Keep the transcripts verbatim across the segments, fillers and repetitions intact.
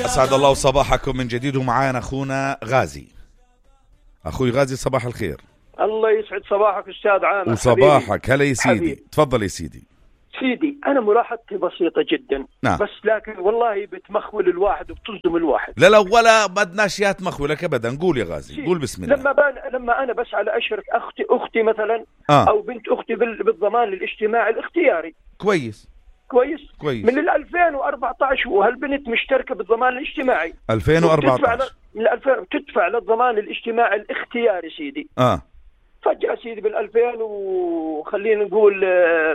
أسعد الله صباحكم من جديد، ومعانا أخونا غازي. أخوي غازي صباح الخير. الله يسعد صباحك أستاذ عامر. وصباحك هلا يا سيدي. حبيبي. تفضل يا سيدي. سيدي أنا ملاحظتي بسيطة جدا. نعم. بس لكن والله بتمخول الواحد وبتصدم الواحد. لا لا ولا بدناش يا تمخولك أبدا. قول يا غازي، قول بسم الله. لما بان لما أنا بس على أشرك أختي أختي مثلا آه. أو بنت أختي بالضمان الاجتماعي الاختياري. كويس كويس كويس. من ألفين وأربعة عشر وهالبنت مشتركة بالضمان الاجتماعي. ألفين وأربعة عشر من ألفين تدفع للضمان الاجتماعي الاختياري سيدي. اه فجأة سيدي بالألفين وخلينا نقول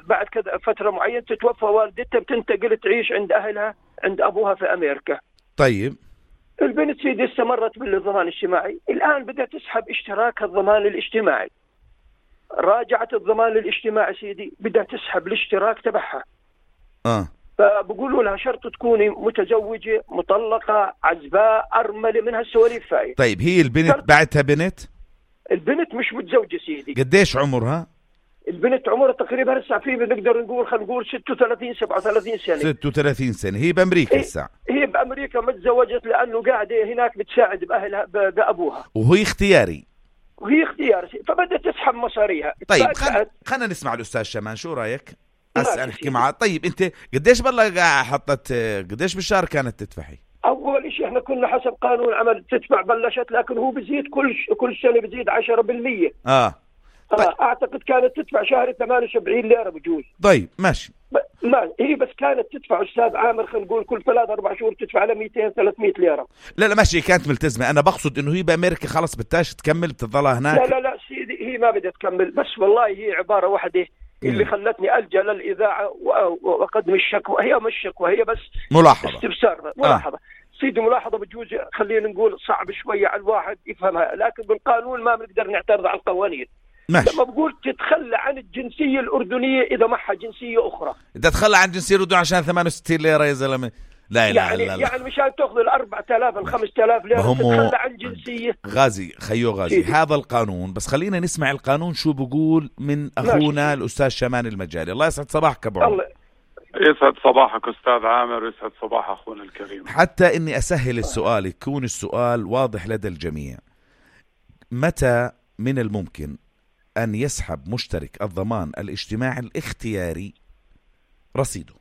بعد كذا فترة معينة تتوفى والدتها، بتنتقل تعيش عند أهلها عند أبوها في أمريكا. طيب البنت سيدي استمرت بالضمان الاجتماعي، الآن بدأت تسحب اشتراك الضمان الاجتماعي. راجعت الضمان الاجتماعي سيدي بدأت تسحب الاشتراك تبعها. اه فبقولوا لها شرط تكوني متزوجة مطلقة عزباء أرملة من هالسواليف هاي. طيب هي البنت بعتها بنت؟ البنت مش متزوجة سيدي. قديش عمرها؟ البنت عمرها تقريبا هسه في بنقدر نقول خلينا نقول ستة وثلاثين سبعة وثلاثين سنة. ستة وثلاثين سنة. هي بأمريكا هسه. هي بأمريكا ما تزوجت لأنه قاعدة هناك بتساعد بأهلها بأبوها. وهي اختياري. وهي اختيار فبدأت تسحب مصاريها. طيب خلينا خلينا نسمع الأستاذ شمان، شو رأيك؟ أسأل أحكي معه. طيب أنت قديش بالله حطت قديش بالشهر كانت تدفعي؟ أول شيء إحنا كنا حسب قانون عمل تدفع بلشت، لكن هو بزيد كل كل سنة بزيد عشرة بالمية. آه. طيب. آه أعتقد كانت تدفع شهر ثمانية وسبعين ليرة بجوز. طيب ماشي. ب... ما هي بس كانت تدفع أستاذ عامر خلينا نقول كل ثلاث أربع شهور تدفع على مئتين ثلاثمئة ليرة. لا لا ماشي كانت ملتزمة. أنا بقصد إنه هي بأمريكا خلاص بدهاش تكمل بتضلها هناك. لا لا لا سيدي هي ما بدها تكمل، بس والله هي عبارة واحدة اللي خلتني ألجأ للإذاعة وأقدم الشكوى. هي مش شكوى، هي بس ملاحظة استفسار ملاحظة. آه. سيدي ملاحظة بجوز خلينا نقول صعب شوية على الواحد يفهمها، لكن بالقانون ما بنقدر نعترض على القوانين. ماشي. لما بقول تتخلى عن الجنسية الأردنية إذا معها جنسية أخرى. إذا تخلى عن الجنسية الأردنية عشان ثمانية وستين ليرة يا زلمة. لا لا يعني لا لا. يعني مشان تأخذ الأربعة آلاف الخمسة آلاف ليرة تتخلى عن جنسية. غازي خيو غازي سيدي. هذا القانون، بس خلينا نسمع القانون شو بقول من أخونا ماشي. الأستاذ شمان المجالي. الله يسعد صباحك أبو عمر. يسعد صباحك أستاذ عامر ويسعد صباح أخونا الكريم. حتى إني أسهل السؤال يكون السؤال واضح لدى الجميع، متى من الممكن أن يسحب مشترك الضمان الاجتماعي الاختياري رصيده؟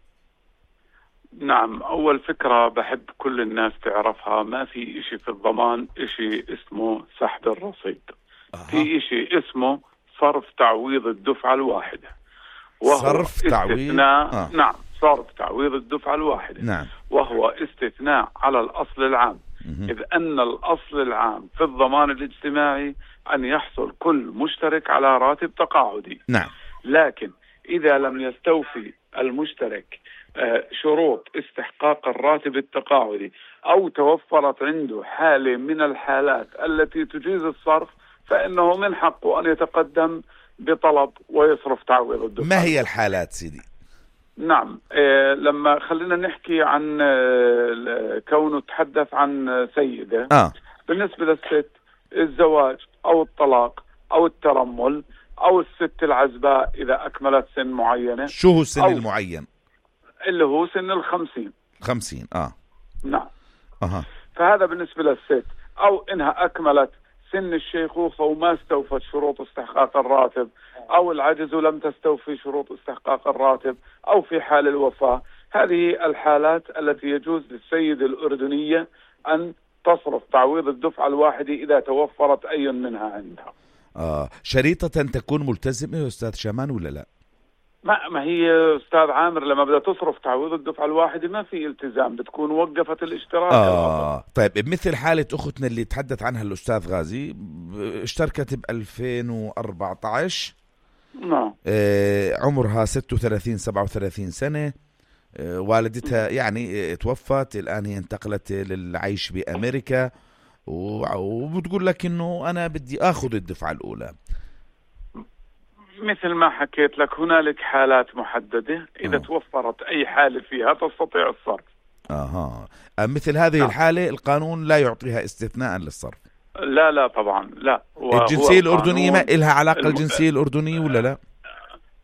نعم، أول فكرة بحب كل الناس تعرفها، ما في إشي في الضمان إشي اسمه سحب الرصيد. أه. في إشي اسمه صرف تعويض الدفعة الواحدة، وهو صرف تعويض استثناء. آه. نعم صرف تعويض الدفعة الواحدة. نعم. وهو استثناء على الأصل العام. مه. إذ أن الأصل العام في الضمان الاجتماعي أن يحصل كل مشترك على راتب تقاعدي. نعم. لكن إذا لم يستوفي المشترك شروط استحقاق الراتب التقاعدي أو توفرت عنده حالة من الحالات التي تجيز الصرف، فإنه من حقه أن يتقدم بطلب ويصرف تعويض الدفعة. ما هي الحالات سيدي؟ نعم إيه لما خلينا نحكي عن إيه كونه تحدث عن سيدة. آه. بالنسبة للست الزواج أو الطلاق أو الترمل أو الست العزباء إذا أكملت سن معينة. شو هو السن المعين؟ اللي هو سن الخمسين. خمسين. آه. نعم. أها. فهذا بالنسبة للست. أو إنها أكملت سن الشيخوخة وما استوفت شروط استحقاق الراتب، أو العجز ولم تستوفي شروط استحقاق الراتب، أو في حال الوفاة. هذه الحالات التي يجوز للسيدة الأردنية أن تصرف تعويض الدفعة الواحدة إذا توفرت أي منها عندها. آه. شريطة تكون ملتزمة يا أستاذ شمان ولا لا؟ ما ما هي أستاذ عامر لما بدها تصرف تعويض الدفعة الواحدة ما في التزام، بتكون وقفت الاشتراك. آه طيب بمثل حالة أختنا اللي تحدث عنها الأستاذ غازي، اشتركت ب ألفين وأربعة عشر. نعم. آه عمرها ستة وثلاثين سبعة وثلاثين سنة. آه والدتها يعني توفت، الآن هي انتقلت للعيش بأمريكا، وبتقول لك إنه أنا بدي أخذ الدفعة الأولى. مثل ما حكيت لك هنالك حالات محددة، إذا أوه. توفرت أي حالة فيها تستطيع الصرف. أها. مثل هذه نعم. الحالة القانون لا يعطيها استثناء للصرف. لا لا طبعا لا. الجنسية الأردنية ما إلها علاقة الم... الجنسية الأردنية ولا لا؟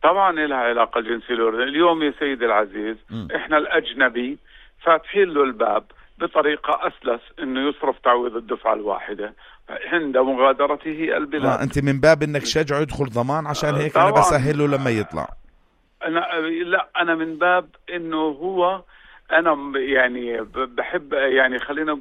طبعا إلها علاقة الجنسية الأردنية. اليوم يا سيدي العزيز م. إحنا الأجنبي فاتحين له الباب بطريقة أسلس أنه يصرف تعويض الدفعة الواحدة عند مغادرته البلاد. آه أنت من باب أنك شجعه يدخل ضمان عشان هيك طبعاً. أنا بسهله لما يطلع. أنا لا أنا من باب أنه هو أنا يعني بحب يعني خلينا